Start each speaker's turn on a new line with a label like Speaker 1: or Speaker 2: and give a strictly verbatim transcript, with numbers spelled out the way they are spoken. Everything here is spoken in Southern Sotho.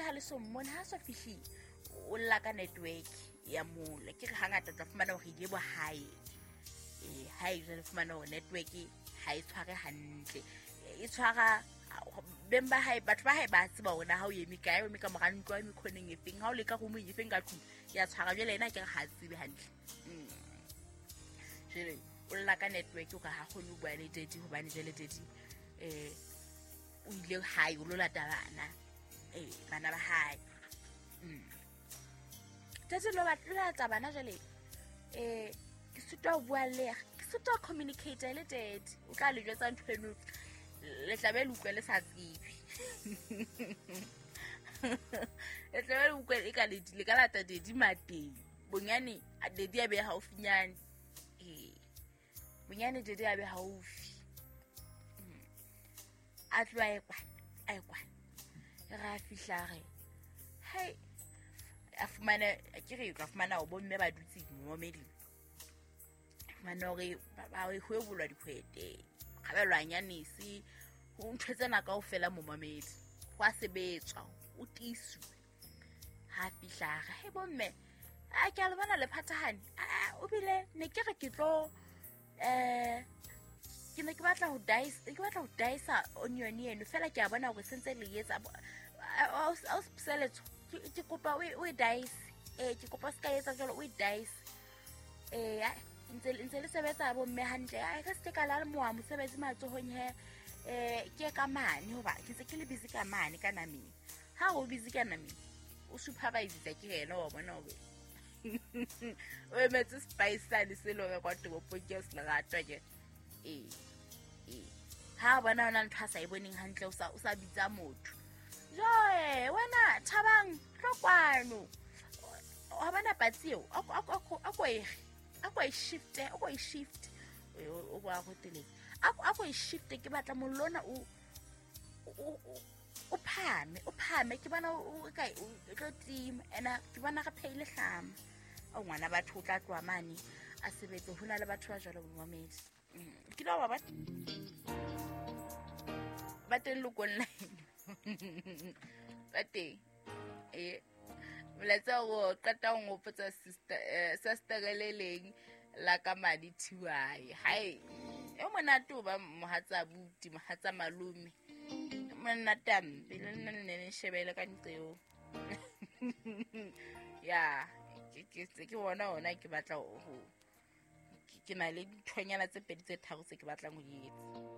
Speaker 1: ha le so mmone ha so fihle o lla ka network ya mola ke re hangata tla fumana hore ile bo hae eh hae jwale fumana hore network ha e tshware hantle e tshwara beng ba hae batho ba hae ba tseba hore na ha o eme kae o eme ka mora ntlo o eme khoneng e feng ha o le ka room e feng ka tlung ya tshwara jwale ena ke re ha tsebe hantle jwale o lla ka network o ka ha kgone ho bua le daddy hobane jwale daddy eh o ile hae o lo lata bana eh bana ba hae daddy lo batla bana jwale eh ke sitwa ho bua le ke sitwa ho communicate le daddy o tla le jwetsa ntho eno le tla be le utlwe le sa tsebe le tla be le utlwe e ka le le ka lata daddy mateng bonyane daddy a be haufinyane eh bonyane daddy a be haufi a tloha e kwa a e kwa ra fihla re hai a fumana ke re ka fumana o bomme ba dutse momedi fumana hore ba ho ebolwa dikhwete kgabelwa nyanisi ho ntho tsena kaofela momamedi ho a sebetswa o tiiswe ha fihla re he bomme a ke a le bona le phathahane o bile ne ke re ke tlo eh ke ne ke batla ho dice ke batla ho dice onion eno fela ke a bona hore sentse le etsa o seletso ke kopa o e dice eh ke kopa se ka etsa jwalo o e dice eh ntse ntse le sebetsa bo mme hantle a re se ka la moa mosebetsi matsohong he eh ke ka mane hoba ke se ke le busy ka mane ka nameng ha o busy ka nameng o supervise ke yena wa bona o o emetse spice sane se lo kwa toropong ke se leratwa ke eh eh ha bona ona ntho a sa e boneng hantle o sa o sa bitsa motho joe wena Thabang tlo kwano ha bana patsi eo a ko e a ko e shift a ko e shift o go a go telele a ko e shift ke batla mollona o o phame o phame ke bona o ka o tlo tima ena ke bona re pheile hlama o ngwana batho o tla tloha mane a sebetse ho na le batho ba jwalo momamedi ke lo ba ba teng lo online ba teng eh molaetsa o qeta ho ngopotsa sister sister le leng la ka madi thiwae hai e monate o ba mohatsa buti mohatsa malome monate ampe le nna ne ne shebele ka ntlo ya ke ke ke bona ona ke batla ho ke na le dithonyana tse pedi tse tharo tse ke batlang ho di etsa.